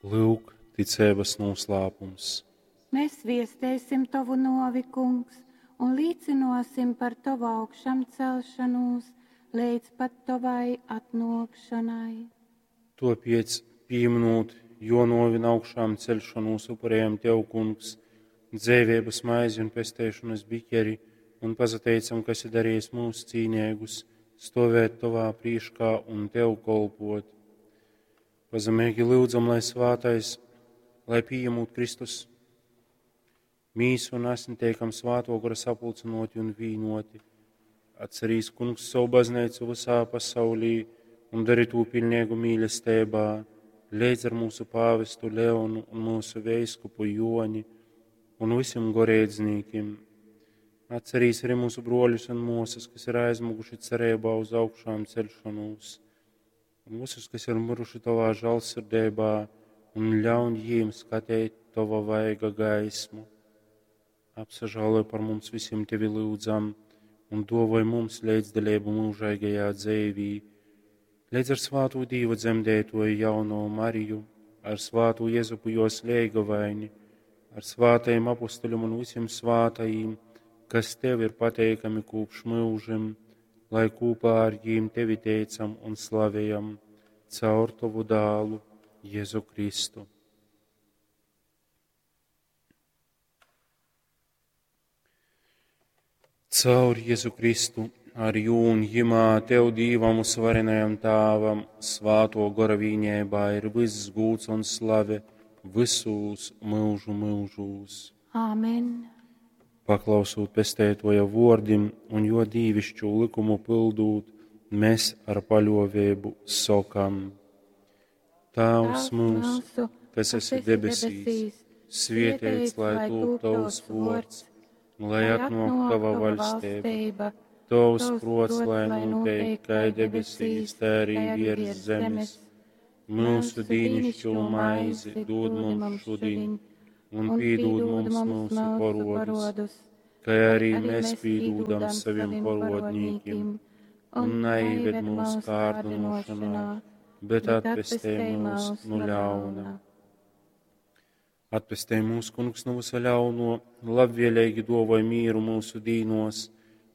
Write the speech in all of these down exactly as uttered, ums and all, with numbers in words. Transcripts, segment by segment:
Lyuk, ticeibas nūslāpums. Mēs viesteisim tovu nōvi, Kungs, un līcynōsim par tovu augšamcelšanūs leidz pat tovai atnōkšanai. Tōpēc, pīminūt jō nōvi un augšām ceļšanūs, upurējam Tev, Kungs, dzeiveibas maizi un pesteišonas biķeri un pasateicam, ka esi darījis mūs cīneigus, stovēt Tovā prīškā un Tev kolpot. Pazemeigi lyudzam, lai svātais, lai pījemūt Kristus mīsu un asni teikam svāto gora sapulcynoti un vīnoti. Atcerīs, Kungs, savu baznīcu visā pasaulī un dari tū pilnīgu mīlestībā, leidz ar mūsu pāvestu Leonu un mūsu veiskupu Joni un visiem goreidznīkim. Atcerīs arī mūsu broļus un mūsas, kas ir aizmuguši cerībā uz augšām celšanos, un visus, kas ir miruši tavā žēlsirdībā, un ļauj jiem skatīt tava vaiga gaismu. Apsažāloj par mums visiem tevi lūdzam, un dovoj mums līdzdalību mūžīgajā dzīvī, līdz ar svāto Dīva dzemdētoju jauno Mariju, ar svāto Jezupu jos leigavaini, ar svātajiem apustuļiem un visiem svātajiem, kas tev ir pateikami kopš mūžiem, lai kopā ar jīm tevi teicam un slavējam caur tavu dālu Jēzu Kristu. Caur Jēzu Kristu, ar jū un jimā tev Dīvam uzvarenajam Tāvam, svāto gora vīņēbā ir viss gūts un slave visūs mūžu mūžūs. Āmen. Paklausūt pestētoja vordim un jo dīvišķu likumu pildūt, mēs ar paļovēbu sokam. Tēvs mūsu, kas esi debesīs, svietēts, lai tūp tavs vords, lai atnāk tava vaļstība, tavs prots, lai notiek kā debesīs, tā arī virs zemes. Mūsu dīnišķo maizi dod mums šodien, un pīdod mums mūsu parodus, kā arī mēs pīdodam saviem parodnīkiem, un neieved mūsu kārdinošanā, bet atpestē mūs no ļauna. Atpestē mūs, Kungs, no visa ļauno, labvēlīgi dovoj mīru mūsu dīnos,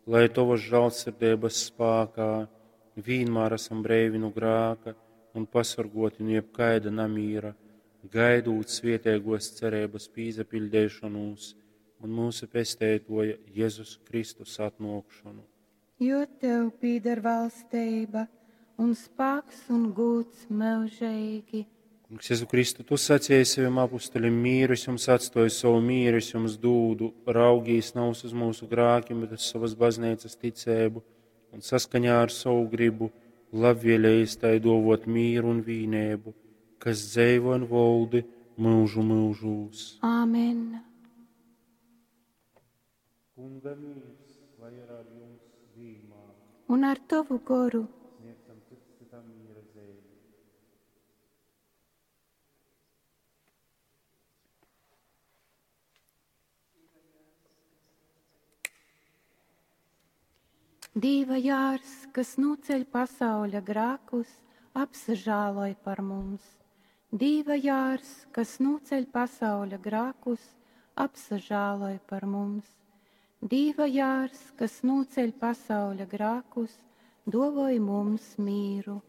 lai tavas žēlsirdības spākā vienmēr esam breivi no grāka un pasargoti no jebkaida namīra, gaidūt svietēgos cerības pīzapildēšanos un mūsu pestētoja Jēzus Kristus atnākšanu. Jo tev pīder valstība un spāks un gūts mūžīgi. Kungs, Jēzu Kristu, tu sacīji saviem apustuļiem, mīru es jums atstoju, savu mīru es jums dūdu, raugīs nav uz mūsu grākiem, bet uz savas baznīcas ticēbu un saskaņā ar savu gribu labvēlējis tai dovot mīru un vīnēbu, kas dzēvo un voldi mūžu mūžūs. Āmen. Kunga mīrs, lai ir ar jums vienmēr. Un ar tavu goru. Sniedzam cits citam miera zīmi. Dīva jārs, kas noceļ pasauļa grākus, apsažāloj par mums. Dīva jārs, kas noceļ pasauļa grākus, apsažāloj par mums. Dīva jārs, kas noceļ pasauļa grākus, dovoj mums mīru.